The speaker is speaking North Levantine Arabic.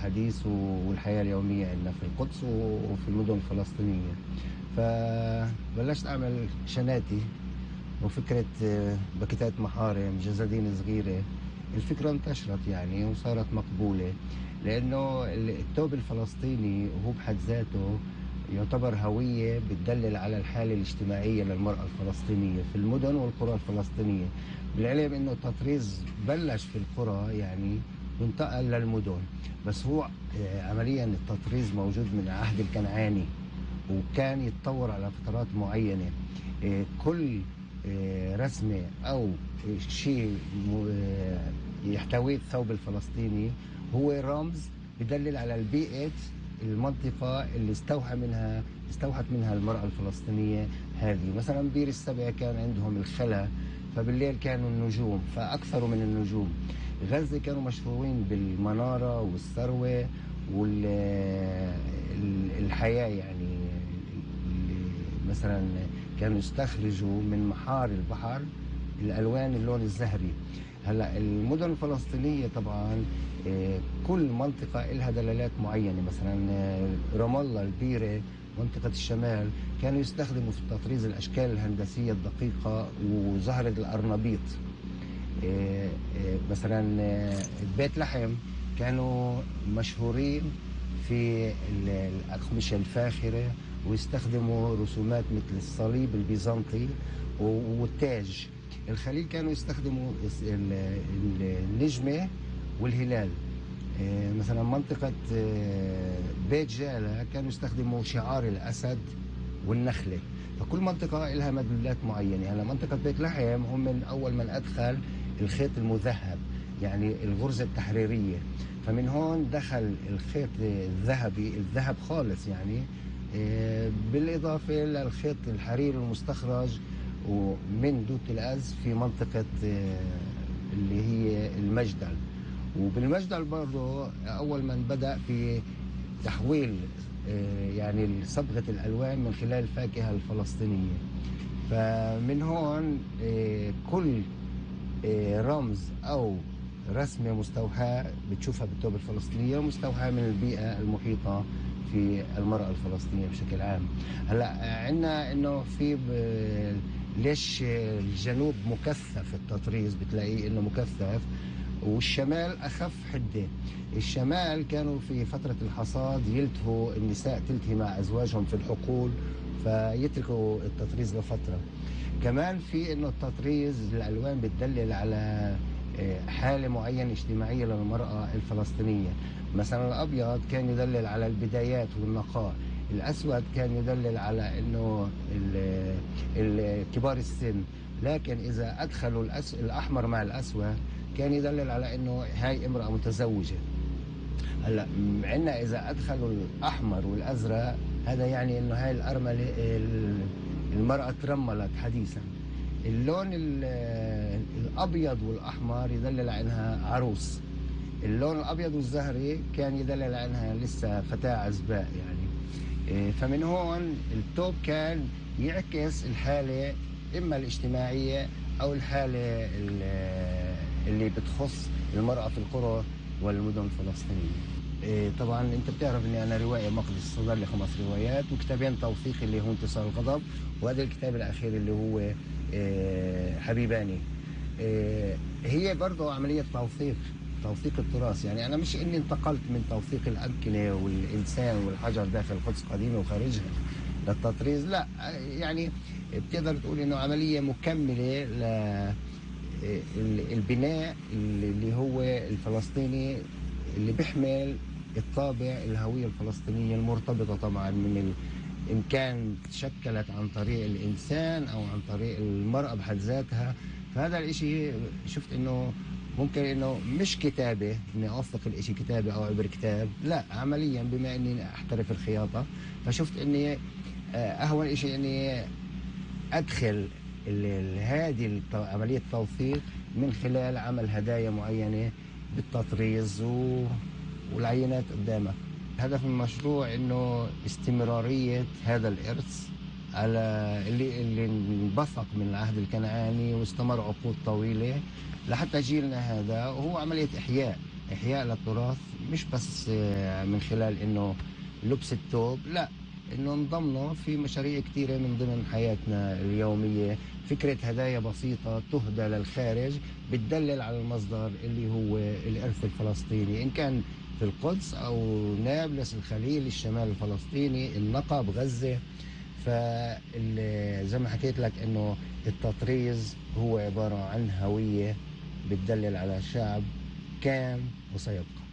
الحديث والحياة اليومية عندنا في القدس وفي المدن الفلسطينية. فبلشت أعمل شناتي وفكرة باكيتات محارم جزادين صغيرة. الفكرة انتشرت يعني وصارت مقبولة، لأنه الثوب الفلسطيني هو بحد ذاته يعتبر هوية بتدلل على الحالة الاجتماعية للمرأة الفلسطينية في المدن والقرى الفلسطينية. بالعلم أنه التطريز بلش في القرى يعني وانتقل للمدن، بس هو عمليا التطريز موجود من العهد الكنعاني وكان يتطور على فترات معينة. كل رسمة أو شيء يحتويه الثوب الفلسطيني هو رمز بدلل على البيئة المنطقة اللي استوحت منها المرأة الفلسطينية هذه. مثلا بير السبع كان عندهم الخلا، فبالليل كانوا النجوم فأكثروا من النجوم. غزة كانوا مشهورين بالمنارة والثروة والحياة، يعني مثلا كانوا يستخرجوا من محار البحر الألوان اللون الزهري. هلا المدن الفلسطينية طبعا كل منطقة لها دلالات معينة. مثلا رام الله البيرة منطقة الشمال كانوا يستخدموا في التطريز الأشكال الهندسية الدقيقة وزهرة الأرنبيط. مثلا بيت لحم كانوا مشهورين في الأقمشة الفاخرة ويستخدموا رسومات مثل الصليب البيزنطي والتاج. الخليل كانوا يستخدموا النجمة والهلال. مثلا منطقة بيت جالة كانوا يستخدموا شعار الأسد والنخلة. فكل منطقة لها مدلولات معينة. هلا منطقة بيت لحم هم من أول من أدخل الخيط المذهب، يعني الغرزة التحريرية. فمن هون دخل الخيط الذهبي، الذهب خالص يعني، بالإضافة للخيط الحرير المستخرج ومن دوت الأز في منطقة اللي هي المجدل. وبالمجدل برضو أول من بدأ في تحويل يعني صبغة الألوان من خلال الفاكهة الفلسطينية. فمن هون كل رمز أو رسمة مستوحاة بتشوفها بالثوب الفلسطينية مستوحاة من البيئة المحيطة في المرأة الفلسطينية بشكل عام. هلا عندنا انه في ليش الجنوب مكثف التطريز، بتلاقيه انه مكثف والشمال اخف حده. الشمال كانوا في فتره الحصاد يلتهوا النساء تلتهي مع ازواجهم في الحقول فيتركوا التطريز لفتره. كمان في انه التطريز الالوان بتدلل على حاله معينه اجتماعيه للمراه الفلسطينيه. مثلا الابيض كان يدلل على البدايات والنقاء، الاسود كان يدلل على انه كبار السن، لكن اذا ادخلوا الاحمر مع الاسود كان يدلل على انه هاي امراه متزوجه. هلا عندنا اذا ادخلوا الاحمر والازرق هذا يعني انه هاي الارمله المراه ترملت حديثا. اللون الابيض والاحمر يدلل على انها عروس. اللون الابيض والزهري كان يدلل على انها لسه فتاه عزباء يعني. فمن هون الثوب كان يعكس الحاله اما الاجتماعيه او الحاله اللي بتخص المراه في القرى والمدن الفلسطينيه. طبعا انت بتعرف اني انا روائي مقدس صدر لي 5 روايات وكتابين توثيقي اللي هو انتصار الغضب، وهذا الكتاب الاخير اللي هو حبيباني. هي برضه عمليه توثيق التراث. يعني انا مش اني انتقلت من توثيق الامكنه والانسان والحجر داخل القدس قديمه وخارجها للتطريز، لا، يعني بتقدر تقول انه عمليه مكمله للبناء اللي هو الفلسطيني اللي بيحمل الطابع الهويه الفلسطينيه المرتبطه طبعا من إن كان تشكلت عن طريق الإنسان أو عن طريق المرأة بحد ذاتها. فهذا الإشي شفت إنه ممكن إنه مش كتابة إني أوثق الإشي كتابة أو عبر كتاب، لا، عمليا بما إني أحترف الخياطة فشفت إني أهون إشي إني أدخل هذه عملية التوثيق من خلال عمل هدايا معينة بالتطريز والعينات قدامك. هدف المشروع انه استمرارية هذا الارث على اللي انبثق من العهد الكنعاني واستمر عقود طويلة لحتى جيلنا هذا، وهو عملية احياء إحياء للتراث مش بس من خلال إنه لبس الثوب، لا، إنه نضمنه في مشاريع كتيرة من ضمن حياتنا اليومية. فكرة هدايا بسيطة تهدى للخارج بتدلل على المصدر اللي هو الإرث الفلسطيني، إن كان في القدس أو نابلس، الخليل، الشمال الفلسطيني، النقب، غزة. فزي ما حكيت لك إنه التطريز هو عبارة عن هوية بتدلل على شعب كان وسيبقى.